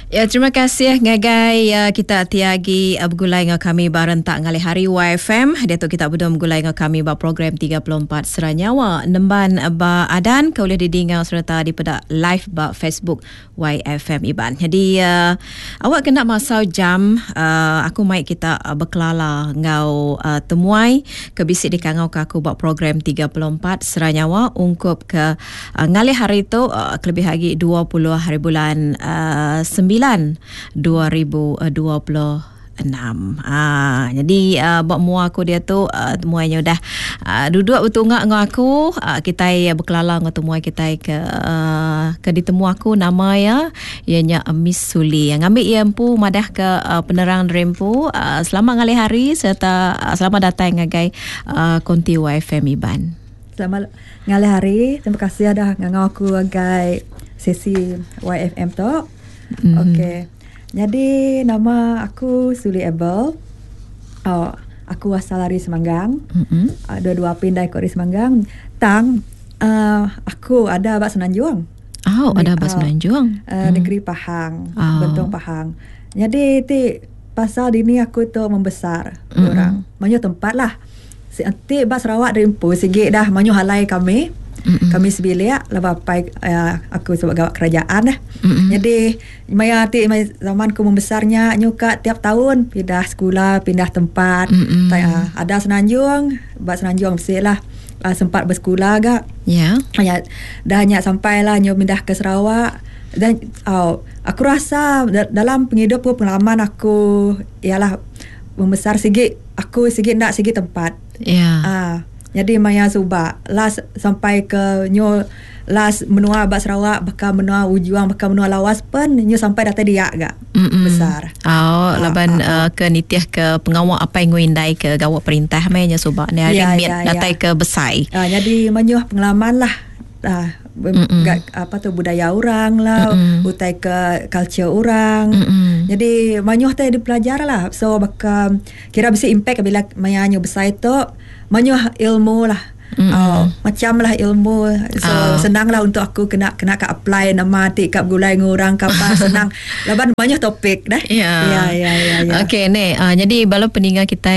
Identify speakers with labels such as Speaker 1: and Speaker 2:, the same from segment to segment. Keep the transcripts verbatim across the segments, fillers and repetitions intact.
Speaker 1: Ya, terima kasih ngagai uh, kita tiagi uh, begulai dengan kami bareng tak ngalih hari Y F M. Dia tu kita berdua begulai dengan kami ba program tiga puluh empat Sera Nyawa Nemban ba Adan ke boleh didinga serta di peda live ba Facebook Y F M Iban. Jadi uh, awak kena masa jam uh, aku mai kita uh, berkelala ngau uh, temuai ke bisi dikangau ke aku buat program tiga puluh empat Sera Nyawa ungkup ke uh, ngalih hari tu, uh, kelebih lagi dua puluh hari bulan uh, sembilan dua ribu dua puluh enam. Ah, jadi uh, buat mua aku dia tu uh, temuainya udah uh, duduk betungak dengan aku, uh, kita berkelala dengan temuai kita ke uh, ke ditemu aku nama ya ianya Miss Suli. Yang ambil ia empu madah ke uh, penerang rempu, uh, selamat ngalih hari serta uh, selamat datang ngagai uh, konti Y F M Iban.
Speaker 2: Selamat ngalih hari. Terima kasih dah ngangau aku agai sesi Y F M tu. Mm-hmm. Okey. Jadi nama aku Suli Abel. Oh, aku asal dari Semanggang. Mm-hmm. Uh, dua-dua pindah ikut dari Semanggang. Tang uh, aku ada bak Semenanjung.
Speaker 1: Oh, ada bak Semenanjung.
Speaker 2: Uh, mm. Negeri Pahang, oh. Bentong Pahang. Jadi ti pasal dini aku tu membesar mm-hmm. orang. Banyak tempat lah. Nanti bak Sarawak dari empu sikit dah manyu halai kami. Mm-hmm. Kami sebilik lah bapai uh, aku sebab gawat kerajaan dah. Mm-hmm. Jadi maya ti maya zaman ku membesarnya nyuka tiap tahun pindah sekolah, pindah tempat. Mm-hmm. Ta, uh, ada Semenanjung, bak Semenanjung mesti lah uh, sempat bersekolah gak.
Speaker 1: Ya.
Speaker 2: Yeah. Ya, dah nyak sampailah nyu pindah ke Sarawak dan oh, aku rasa dalam penghidup pengalaman aku ialah membesar sikit aku sikit nak sikit tempat.
Speaker 1: Ya. Yeah.
Speaker 2: Uh, jadi maya subak last sampai ke nyo last menua bak Sarawak bakal menua Ujuang bakal menua Lawas pun nyo sampai datang dia agak
Speaker 1: Mm-mm.
Speaker 2: besar.
Speaker 1: Oh, laban uh, uh, ke nitiah ke pengawak apa yang nguindai ke gawak perintah mainnya subak ni hari
Speaker 2: Ya,
Speaker 1: miat
Speaker 2: ya,
Speaker 1: datai
Speaker 2: ya.
Speaker 1: ke besai.
Speaker 2: Uh, jadi menyuh pengalaman lah. Uh, gak, apa tu budaya orang lah,
Speaker 1: Mm-mm.
Speaker 2: utai ke culture orang.
Speaker 1: Mm-mm.
Speaker 2: Jadi manyuh teh dipelajar lah. So bakal kira bisa impact bila maya nyu besar tu manyuh ilmu lah.
Speaker 1: Mm-mm.
Speaker 2: Oh, macam lah ilmu. So
Speaker 1: Oh.
Speaker 2: senang lah untuk aku kena kena ka apply nama ti kat gulai ngurang kapal senang. Laban banyak topik dah.
Speaker 1: Ya.
Speaker 2: Ya ya ya ya.
Speaker 1: Okey ni uh, jadi bala peninggal kita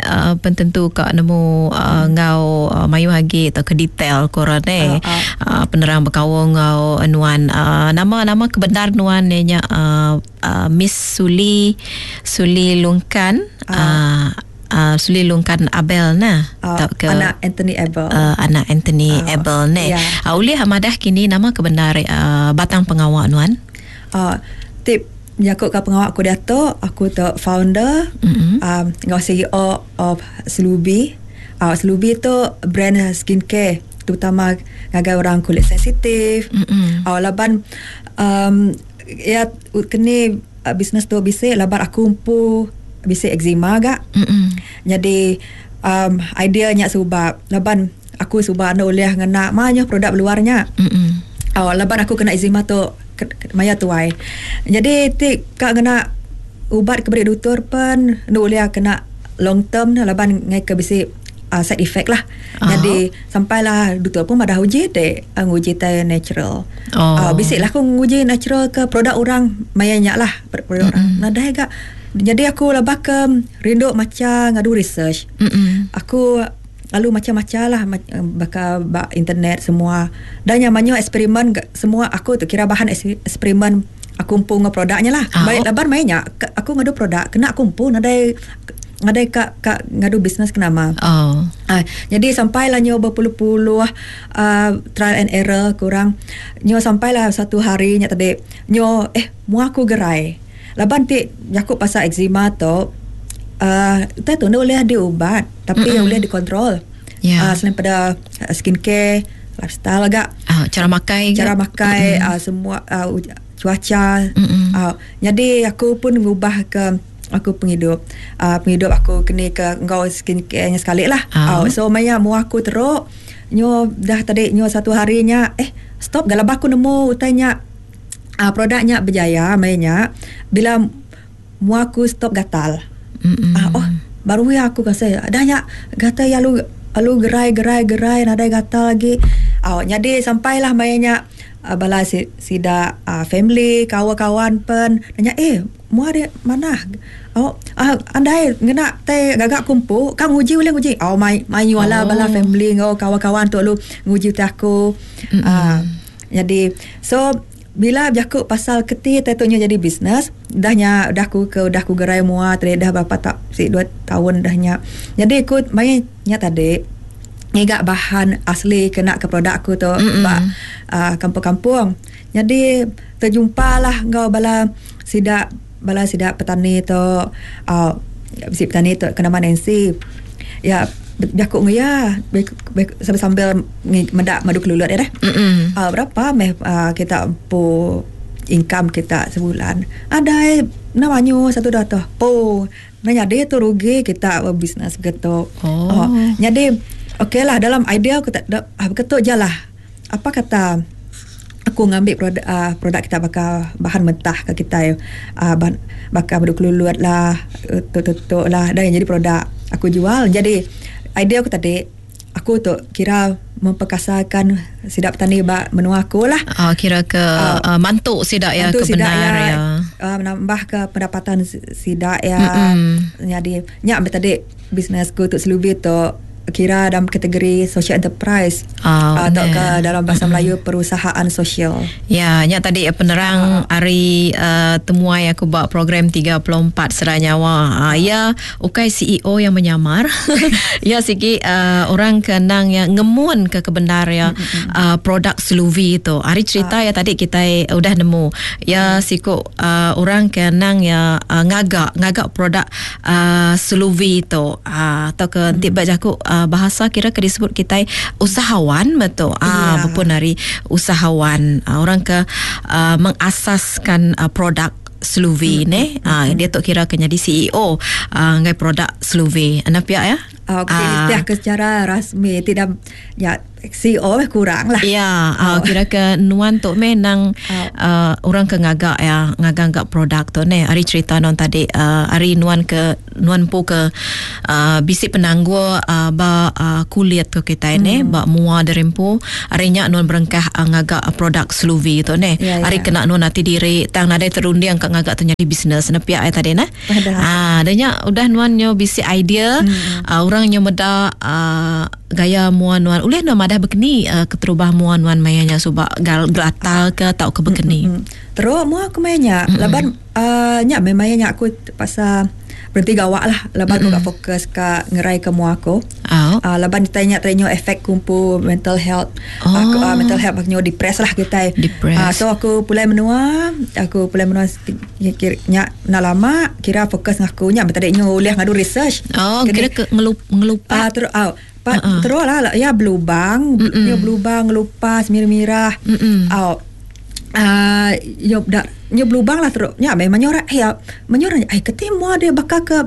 Speaker 1: uh, pententu kak nemu uh, ngau uh, mayu hagi atau ke detail korang ni.
Speaker 2: Ah, ah.
Speaker 1: Uh, penerang berkawung ngau nuan uh, nama-nama kebenar nuan ni nya uh, uh, Miss Suli Suli Lungkan uh, uh, Suli Lungkan Abel nah
Speaker 2: Uh,
Speaker 1: tak ke
Speaker 2: anak Anthony Abel.
Speaker 1: uh, anak Anthony
Speaker 2: Ah,
Speaker 1: Abel ni.
Speaker 2: ya.
Speaker 1: Uh, ulih hamadah kini nama kebenar uh, batang pengawak nuan.
Speaker 2: Uh, tip Jakut ke pengawak aku dia tu, aku tu founder,
Speaker 1: Mm-mm.
Speaker 2: um, ngau C E O of Slubi. Uh, Slubi tu brand skincare terutama ngagai orang kulit sensitif.
Speaker 1: Mm-mm.
Speaker 2: Uh, laban um, ya kini uh, bisnes tu bisik laban aku empu bisik eczema gak.
Speaker 1: Mm-mm.
Speaker 2: Jadi um, idea nya sebab laban aku sebab anda boleh ngena banyak produk luarnya.
Speaker 1: Mm-mm.
Speaker 2: Oh, laban aku kena eczema tu ke- ke- maya tuai. Jadi ti kak kena ubat ke beri doktor pun nu boleh kena long term laban ngai ke bisi uh, side effect lah.
Speaker 1: Ah.
Speaker 2: Jadi sampailah doktor pun pada uji dek uh, nguji teh natural.
Speaker 1: Oh.
Speaker 2: Uh, bisik lah aku nguji natural ke produk orang maya nyak lah produk mm-hmm. orang. Nadai gak. Jadi aku lah ke rindu macam ngadu research.
Speaker 1: Mm-mm.
Speaker 2: Aku lalu macam-macam lah ma- bakal bak internet semua dan yang banyak eksperimen ga- semua aku tu kira bahan es- eksperimen aku empu dengan produknya lah.
Speaker 1: Ah,
Speaker 2: Baik
Speaker 1: oh.
Speaker 2: laban mainnya aku ngadu produk kena aku empu nadai nadai kak kak ngadu bisnes kenama.
Speaker 1: Oh.
Speaker 2: Ah, jadi sampailah nyo berpuluh-puluh uh, trial and error kurang. Nyo sampailah satu hari nya tadi nyo eh mu aku gerai. Laban ti jakut pasal eczema tu uh, tu tu boleh diubat tapi mm-hmm. boleh dikontrol.
Speaker 1: Ya.
Speaker 2: Uh, selain pada uh, skincare, lifestyle agak
Speaker 1: Ah, cara makai ke?
Speaker 2: cara makai uh, semua uh, uj- cuaca.
Speaker 1: Mm-mm.
Speaker 2: Uh, jadi aku pun ngubah ke aku penghidup uh, penghidup aku kena ke engkau skincare-nya sekali lah.
Speaker 1: Ah.
Speaker 2: Uh, so maya mu aku teruk nyo dah tadi nyo satu harinya eh stop galabah aku nemu utainya uh, produknya berjaya mainnya bila mu aku stop gatal.
Speaker 1: Mm-mm.
Speaker 2: Ah, oh baru ya aku rasa dah nya gatal ya lu lu gerai gerai gerai nadai gatal lagi. Oh, jadi sampailah mainnya uh, bala si, sida uh, family kawan-kawan pen nanya eh mua dia mana oh uh, andai ngena te gagak kumpu kang nguji boleh nguji oh mai mai wala oh. Bala family ngau kawan-kawan tu lu nguji teh aku uh, jadi so bila berjakuk pasal keti tentunya jadi bisnes dahnya dah ku ke dah ku gerai mua tadi dah berapa tak si dua tahun dahnya jadi aku mainnya tadi ngigak bahan asli kena ke produk aku tu ba uh, kampung-kampung jadi terjumpalah ngau bala sidak bala sidak petani tu uh, si petani tu kena Nancy ya berjakuk nguya sambil-sambil mendak madu kelulut ya dah. Uh, berapa meh uh, kita empu income kita sebulan. Ada namanya satu dah tu. Po, nanya dia tu rugi kita bisnes begitu. Oh. Oh, jadi okeylah dalam idea aku tak ah, begitu je lah. Apa kata aku ngambil produk uh, produk kita bakal bahan mentah ke kita uh, bahan bakal madu kelulut lah, tutuk-tutuk lah dan jadi produk aku jual. Jadi idea aku tadi aku tu kira memperkasakan sidak petani bak menua aku lah.
Speaker 1: Ah, kira ke uh, uh, mantuk sidak ya ke benar ya. ya.
Speaker 2: Uh, menambah ke pendapatan sidak ya. Mm-mm. Jadi nyak tadi bisnesku tu Seluvi tu kira dalam kategori social enterprise oh, atau ke dalam bahasa Melayu perusahaan sosial.
Speaker 1: Ya, nya tadi penerang uh. hari uh, temuai aku buat program tiga puluh empat Seranyawa. Uh, ya, ukai C E O yang menyamar. Ya, sigi uh, orang kenang yang ngemun ke kebenar ya uh, produk Seluvi tu. Hari cerita uh. ya tadi kita udah nemu. Ya, uh. siku uh, orang kenang ya uh, ngagak ngagak produk uh, Seluvi tu. Uh, atau ke nanti baca aku bahasa kira ke disebut kita usahawan betul. Ah, yeah. Berpun hari usahawan ah, orang ke uh, mengasaskan uh, produk Seluvi mm-hmm. ne. Ah, dia tu kira ke jadi C E O ah, ngai produk Seluvi. Anda pihak ya?
Speaker 2: Ah, okay, ah. Ke secara rasmi tidak ya C E O kurang lah.
Speaker 1: Ya, oh. uh, kira ke nuan tu memang oh. uh, orang ke ngagak ya, ngagak produk tu ne. Hari cerita non tadi uh, hari nuan ke nuan pu ke uh, bisik penangguh uh, ba uh, kulit ke kita hmm. ne, ba mua derempu. Hari nya nuan berengkah uh, ngagak produk Seluvi tu ne. Ya, hari ya. Kena nuan nanti diri tang nadai terunding ke ngagak tu jadi bisnes ne pihak tadi ne. Ah, danya udah nuan nyo bisik idea hmm. uh, orang nyo meda uh, gaya mua nuan ulih nuan madah bekeni uh, keterubah mua nuan mayanya subak gal gelatal ke tau ke bekeni.
Speaker 2: Mm-hmm. Teruk mua aku mayanya mm-hmm. laban uh, nya memangnya aku pasal berhenti gawak lah laban mm-hmm. aku gak fokus ke ngerai ke mua aku. Oh. Uh, laban ditanya tanya efek kumpul mental health. Oh. Aku uh, mental health aku depres lah kita.
Speaker 1: Depres.
Speaker 2: Uh, so aku pulai menua, aku pulai menua nya nak lama kira fokus ngaku nya tadi nyo ulih ngadu research.
Speaker 1: Oh, kira ke ngelup ngelupa.
Speaker 2: Uh, terus uh, Pa, uh-uh. terus lah ya berlubang, ya berlubang, ngelupas mirah-mirah. Oh, uh, yo dak yo berlubang lah terus. Ya memang orang eh menyorang ai ketemu dia bakal ke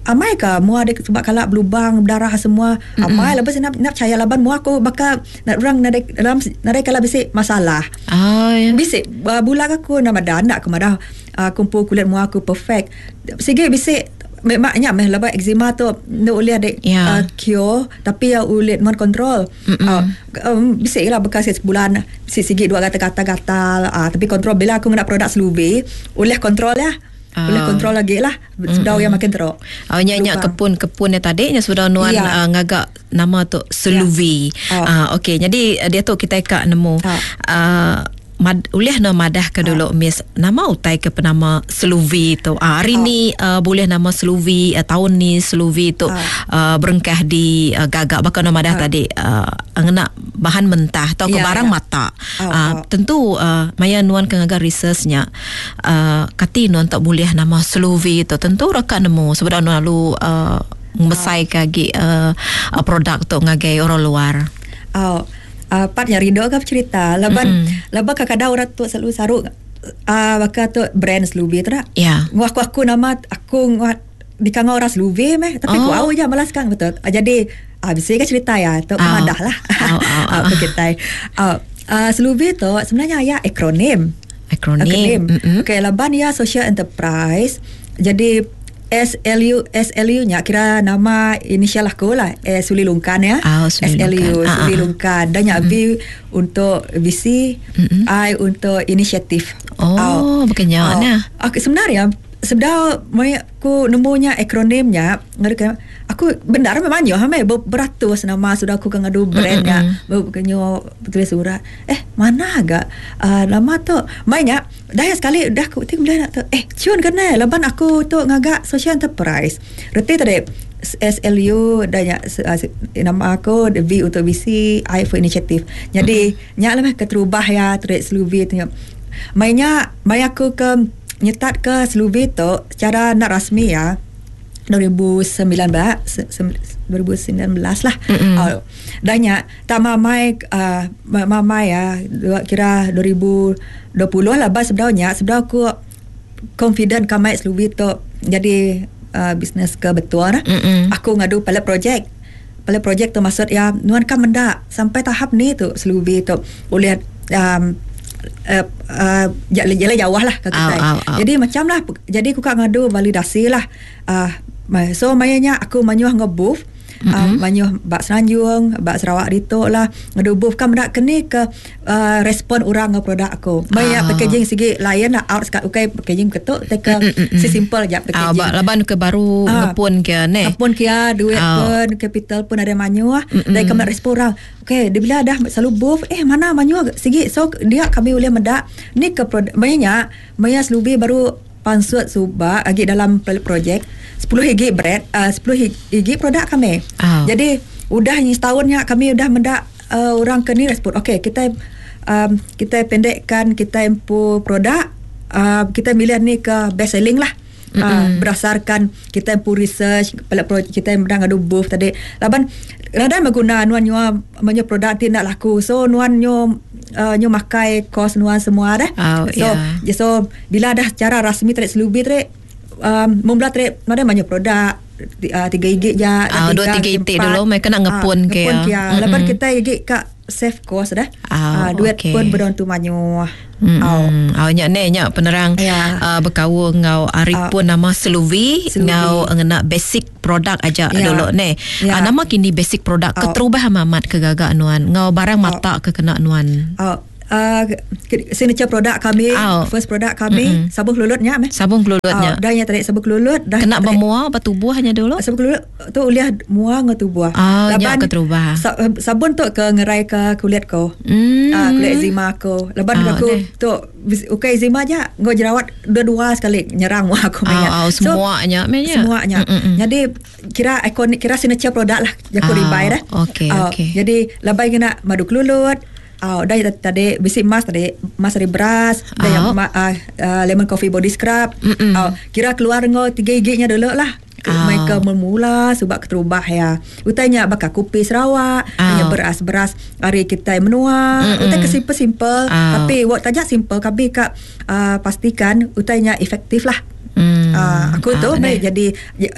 Speaker 2: amai ke mua dia sebab kalak berlubang berdarah semua. Mm-mm. Amai lepas nak nak percaya laban mua aku bakal nak orang nadai dalam nadai kala bisik masalah.
Speaker 1: Oh ya.
Speaker 2: Bisik uh, bulan aku nama dah nak ke madah uh, kumpul kulit mua aku perfect. Sige bisik memangnya meh lepas eczema tu no boleh ada yeah. uh, cure tapi ya ulit mon kontrol. Uh, um, bisik lah bekas sebulan bisik sikit dua kata-kata gatal uh, tapi kontrol bila aku nak produk Seluvi boleh kontrol ya. Boleh kontrol lagi lah sudah yang makin teruk.
Speaker 1: Oh nya kepun-kepun yang tadi nya sudah nuan yeah. uh, ngagak nama tu Seluvi. Yeah. Oh. Uh, okey jadi dia tu kita kak nemu. Oh. Uh, Mad, ulih na madah ke dulu oh. Miss nama utai ke penama Seluvi tu. Ah, hari oh. ni uh, boleh nama Seluvi uh, tahun ni Seluvi tu oh. uh, berengkah di uh, gagak bahkan nama madah oh. tadi uh, ngena bahan mentah atau ke ya, barang ya. mata. Oh, uh, oh. Tentu uh, maya nuan ke ngaga researchnya uh, kati nuan tak boleh nama Seluvi tu tentu rekan nemu sebab nuan lalu uh, membesai oh. kagi uh, uh, produk tu ngagai orang luar.
Speaker 2: Oh. Uh, part yang rindu ke cerita laban mm-hmm. laban kadang-kadang orang tu selalu saruk uh, bakal tu brand Seluvi tu tak
Speaker 1: ya yeah.
Speaker 2: aku aku nama aku di kangau orang Seluvi meh tapi oh. aku au je malas sekarang betul uh, jadi ah uh, bisa ke cerita ya tu oh. madah lah
Speaker 1: oh, oh, oh.
Speaker 2: uh, kita uh, uh, Seluvi tu sebenarnya ya akronim
Speaker 1: akronim, akronim. Mm-hmm.
Speaker 2: Okey laban ya social enterprise jadi S L U S L U nya kira nama inisial aku lah, eh, Suli Lungkan ya.
Speaker 1: Oh, Suli
Speaker 2: S L U
Speaker 1: Lungkan.
Speaker 2: Suli
Speaker 1: Ah,
Speaker 2: Lungkan. Dan nya
Speaker 1: mm-hmm.
Speaker 2: V untuk V C,
Speaker 1: mm-hmm.
Speaker 2: I untuk inisiatif.
Speaker 1: Oh,
Speaker 2: oh.
Speaker 1: bukannya
Speaker 2: Oh.
Speaker 1: nah.
Speaker 2: Aku sebenarnya sebenar aku nemunya akronimnya, aku benar memang yo hame beratus nama sudah aku ngadu brandnya, mm-hmm. tulis surat. Eh, mana agak uh, nama tu mainnya dah sekali dah aku tengok bila nak tu. Eh, cun kena laban aku tu ngagak social enterprise. Reti tadi S L U dah nya nama aku V untuk V C, I for initiative. Jadi mm-hmm. nya lah keterubah ya trade Sluvi tu. Mainnya mai aku ke nyetat ke Sluvi tu secara nak rasmi ya dua ribu sembilan belas dua ribu sembilan belas lah.
Speaker 1: Mm-hmm.
Speaker 2: Uh, dah nya tak mamai uh, mamai ya kira dua ribu dua puluh lah bas sebenarnya sebenarnya aku confident kamai Sluvi tu jadi uh, bisnes ke betul lah.
Speaker 1: Mm-hmm.
Speaker 2: Aku ngadu pilot project. Pilot project tu maksud ya nuan kan mendak sampai tahap ni tu Sluvi tu boleh um, Uh, uh, jalan jauh lah ke kita.
Speaker 1: Au, au, au.
Speaker 2: Jadi macam lah, jadi aku kak ngadu validasi lah. Uh, so mayanya aku manyuh ngebooth,
Speaker 1: mm-hmm.
Speaker 2: uh, manyuh bak Seranjung, bak Sarawak ditok lah. Ngadu booth kan mendak keni ke uh, respon orang nge produk aku. Maya
Speaker 1: ah.
Speaker 2: packaging segi lain lah out sekat ukai packaging ketuk teka
Speaker 1: Mm-mm.
Speaker 2: si simple je packaging.
Speaker 1: Ah, bak laban ke baru
Speaker 2: ah,
Speaker 1: ngepun ke ne.
Speaker 2: Ngepun ke duit
Speaker 1: ah.
Speaker 2: pun capital pun ada manyuh. Dan kami respon orang. Okey, dia bila dah selalu booth, eh mana manyuh segi so dia kami boleh mendak ni ke produk mayanya maya Sluvi baru pansut subak lagi dalam projek sepuluh higi bread uh, sepuluh higi produk kami.
Speaker 1: Oh.
Speaker 2: Jadi udah ni setahunnya kami udah mendak uh, orang ke ni respon. Okey, kita um, kita pendekkan kita empu produk uh, kita milih ni ke best selling lah.
Speaker 1: Mm-hmm.
Speaker 2: Uh, berdasarkan kita empu research pilot project kita yang menang adu booth tadi. Laban kadang mengguna nuan nyo menyo produk ti nak laku. So nuan nyo uh, nyo makai kos nuan semua dah.
Speaker 1: Oh,
Speaker 2: so
Speaker 1: yeah.
Speaker 2: so bila dah secara rasmi trade Sluvi trade um, mula trade mana banyak produk uh, tiga gig je,
Speaker 1: oh, dua tiga itik dulu mereka nak ngepun
Speaker 2: uh,
Speaker 1: ke
Speaker 2: ngepun
Speaker 1: ya.
Speaker 2: Lepas kita gig kat save cost dah.
Speaker 1: Oh,
Speaker 2: uh, duit
Speaker 1: okay.
Speaker 2: pun beron tu manyu.
Speaker 1: Hmm.
Speaker 2: Oh.
Speaker 1: Oh nyak ne nyak penerang
Speaker 2: yeah.
Speaker 1: uh, berkaul ngau ari
Speaker 2: oh.
Speaker 1: pun nama Sluvi ngau ngena basic produk aja
Speaker 2: yeah.
Speaker 1: dulu ne.
Speaker 2: Yeah.
Speaker 1: Uh, nama kini basic produk
Speaker 2: oh.
Speaker 1: keterubah mamat ke gagak nuan ngau barang
Speaker 2: oh.
Speaker 1: mata ke kena nuan.
Speaker 2: Oh. Uh, signature produk kami,
Speaker 1: oh.
Speaker 2: first produk kami,
Speaker 1: Mm-mm.
Speaker 2: sabun kelulutnya meh.
Speaker 1: Sabun kelulutnya.
Speaker 2: Oh, dah yang tadi sabun kelulut dah.
Speaker 1: Kena bermuar apa tubuhnya dulu?
Speaker 2: Sabun kelulut tu uliah muar ngau tubuh.
Speaker 1: Oh, nyak keterubah.
Speaker 2: Sa- sabun tu ke ngerai ke kulit ko.
Speaker 1: Mm.
Speaker 2: Uh, kulit eczema aku. Lepas
Speaker 1: Oh,
Speaker 2: aku
Speaker 1: deh.
Speaker 2: tu ukai eczema aja ngau jerawat dua-dua sekali nyerang muar aku
Speaker 1: Oh,
Speaker 2: banyak.
Speaker 1: oh, semuanya so, meh.
Speaker 2: Semuanya.
Speaker 1: Mm-mm.
Speaker 2: Jadi kira ikonik kira signature produk lah jaku
Speaker 1: Ah,
Speaker 2: ribai dah.
Speaker 1: okey,
Speaker 2: Oh,
Speaker 1: okey.
Speaker 2: Jadi labai kena madu kelulut. Oh, dah tadi bisi mas tadi mas dari beras, dah
Speaker 1: Oh.
Speaker 2: yang ma, uh, uh, lemon coffee body scrub.
Speaker 1: Mm-mm.
Speaker 2: Oh, kira keluar ngau tiga giginya dulu lah.
Speaker 1: Oh.
Speaker 2: Mereka memula sebab keterubah ya. Utainya bakal kopi Sarawak,
Speaker 1: Oh.
Speaker 2: hanya beras-beras hari kita menua.
Speaker 1: Mm-mm.
Speaker 2: Utai ke simple-simple,
Speaker 1: Oh.
Speaker 2: tapi wak tajak simple kami kak uh, pastikan utainya efektif lah.
Speaker 1: Hmm.
Speaker 2: Ah, aku tu
Speaker 1: Ah,
Speaker 2: baik
Speaker 1: neh.
Speaker 2: jadi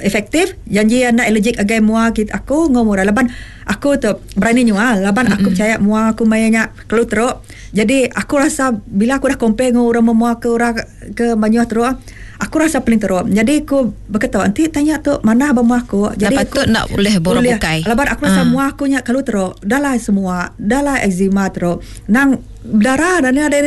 Speaker 2: efektif janji anak allergic agai mua kita aku ngomong laban aku tu berani nyua laban aku percaya mua aku mayanya kalau teruk jadi aku rasa bila aku dah compare dengan orang memua ke orang ke banyak teruk aku rasa paling teruk jadi aku berkata nanti tanya tu mana abang mua aku jadi
Speaker 1: Lepas
Speaker 2: aku
Speaker 1: tu nak boleh borok
Speaker 2: boleh.
Speaker 1: bukai.
Speaker 2: Laban aku rasa
Speaker 1: Ah.
Speaker 2: mua aku nya kalau teruk dah lah semua dah lah eczema teruk nang darah dan ada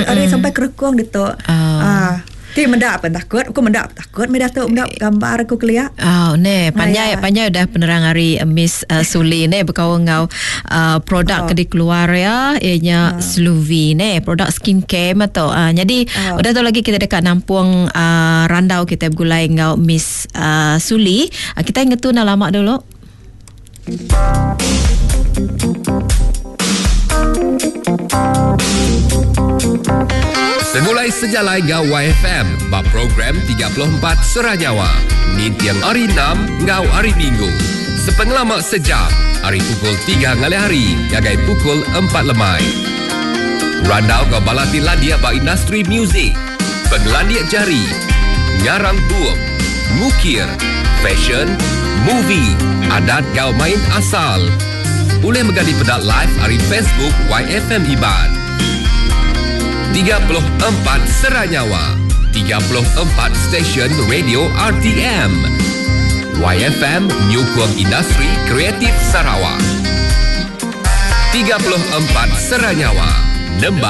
Speaker 2: ada sampai kerekung gitu
Speaker 1: Ah.
Speaker 2: ah. Ti mendak apa takut, aku mendak takut, mendak tu mendak gambar aku keliak.
Speaker 1: Oh, ne, panjai
Speaker 2: Ah, ya.
Speaker 1: panjai dah penerang hari uh, Miss uh, Suli ne berkawan ngau uh, produk
Speaker 2: Oh.
Speaker 1: ke dikeluar ya ianya
Speaker 2: Ah.
Speaker 1: Sluvi ne, produk skincare atau uh, jadi
Speaker 2: Oh.
Speaker 1: udah tu lagi kita dekat nampung uh, randau kita bergulai ngau Miss uh, Suli. Uh, kita ingat tu nak lama dulu.
Speaker 3: Segulai sejalai ngau Y F M bab program tiga puluh empat Seranyawa. Nintiang hari enam ngau hari Minggu. Sepengelama sejam, hari pukul tiga ngalih hari, gagai pukul empat lemai. Randau ngau balati landia ba industri muzik, pengelandia jari, ngarang bup, mukir, fashion, movie, adat ngau main asal. Boleh menggali pedak live hari Facebook Y F M Iban. tiga puluh empat Seranyawa. tiga puluh empat stesen radio R T M. Y F M nyukung industri kreatif Sarawak. tiga puluh empat Seranyawa Nemban